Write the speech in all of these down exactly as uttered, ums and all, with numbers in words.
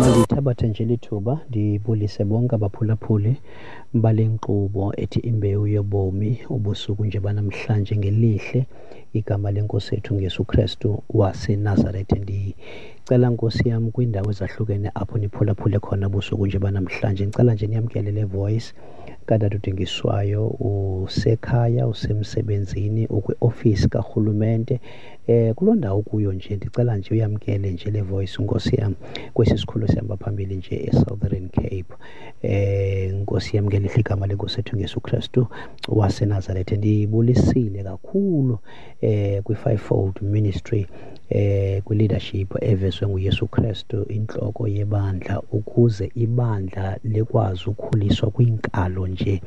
Mandithabathe nje lithuba ndibulise bonke abaphulaphuli bale nkqubo ethi Imbewu Yobomi ubusuku nje banamhlanje ngelihle igama lenkosi yethu ngeYesu Krestu waseNazarethe. Ndicela Nkosi yam kwiindawo ezahlukene apho niphulaphule khona ubusuku nje banamhlanje, ndicela nje niyamkele le voice katata uDingiswayo. Usekhaya, usemsebenzini, ukwiofisi karhulumente, eh kuloo ndawo kuyo nje ndicela nje uyamkele nje le voice Nkosi yam kwesi sikhululo sihamba phambili nje eSouthern Cape. Eh Nkosi yam ngelihle igama lenkosi yethu ngeYesu Krestu waseNazarethe. Ndibulisile kakhulu eh kwi-fivefold ministry, eh kwi-leadership evezwe nguYesu Krestu intloko yebandla, ukuze ibandla likwazi ukukhuliswa kwiinkalo nje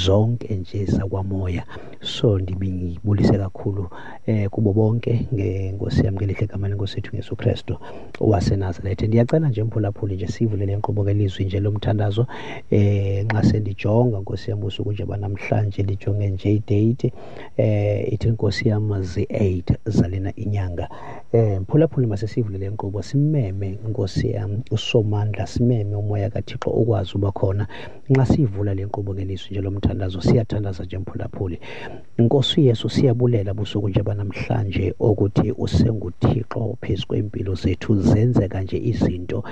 zonke nje zakwamoya. So ndibulise kakhulu eh kubo bonke ngenkosi yam ngelihle igama lenkosi yethu ngeYesu Krestu waseNazarethe. Ndiyacela nje mphulaphuli nje sivule le nkqubo ngelizwi nje lomthandazo. Eh nxa sendijonga Nkosi yam usuku nje banamhlanje, ndijonge nje idate eh ithi Nkosi yam zi-eight zalena inyanga. Eh mphulaphuli masesivule le nkqubo simeme Nkosi yam uSomandla, simeme umoya kaThixo ukwazi uba khona nxa sivula le nkqubo ngelizwi nje lomthandazo. Siyathandaza nje mphulaphuli. Nkosi Yesu, siyabulela busuku nje banamhlanje ukuthi usenguThixo phezu kwempilo zethu, zenzeka nje izinto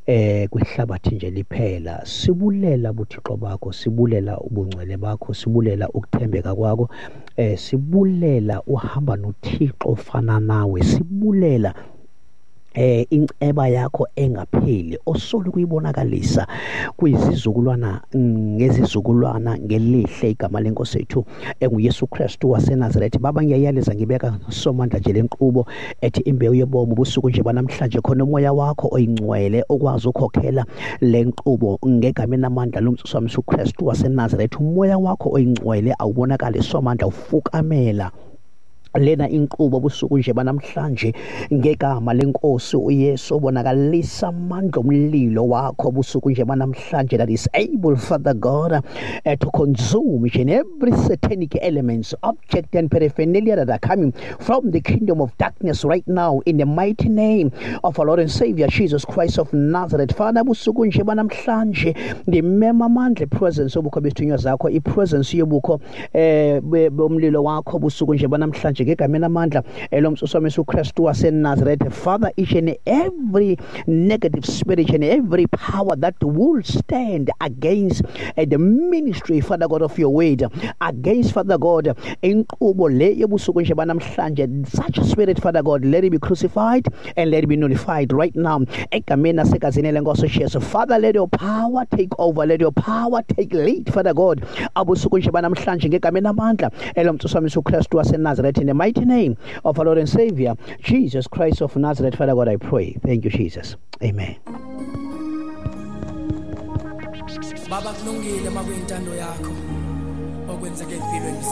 eh kwihlabathi nje liphela. Sibulela buThixo bakho, sibulela ubungcwele bakho, sibulela ukuthembeka kwakho, eh sibulela uhamba noThixo ofana nawe, sibulela eh inceba yakho engapheli osolo kuyibonakalisa kwizizukulwana ngezizukulwana ngelihle igama lenkosi yethu enguYesu Kristu waseNazarethe. Baba, ngiyayaleza ngibeka Somandla nje lenkqubo ethi Imbewu Yobomi ubusuku nje banamhlanje, khona umoya wakho oyingcwele okwazi ukukhokhela lenkqubo ngegama namandla lomsusa Yesu Kristu waseNazarethe. Umoya wakho oyingcwele awubonakale Somandla ufukamela lena inkqubo busuku nje banamhlanje ngegama lenkosi uYesu, obonakalisa amandla omlilo wakho busuku nje banamhlanje, that is able, Father God, uh, to consume each and every satanic elements, object and paraphernalia that are coming from the kingdom of darkness right now in the mighty name of our Lord and Savior Jesus Christ of Nazareth. Father, busuku nje banamhlanje ndimema amandla presence obukho besithunywa zakho, i-presence yobukho eh bomlilo wakho busuku nje banamhlanje ngegama namandla elomsusa Yesu Kristu waseNazarethe. Father, each and every negative spirit and every power that will stand against uh, the ministry, Father God, of your word, against, Father God, inkqubo le yobusuku nje banamhlanje, such spirit, Father God, let it be crucified and let it be nullified right now egameni nasegazini lenkosi Jesu. Father, let your power take over, let your power take lead, Father God, abusuku nje banamhlanje ngegama namandla elomsusa Yesu Kristu waseNazarethe. In the mighty name of our Lord and Savior Jesus Christ of Nazareth, Father God, I pray. Thank you, Jesus. Amen. Baba, kulungile makuyintando yakho okwenzeke empilweni.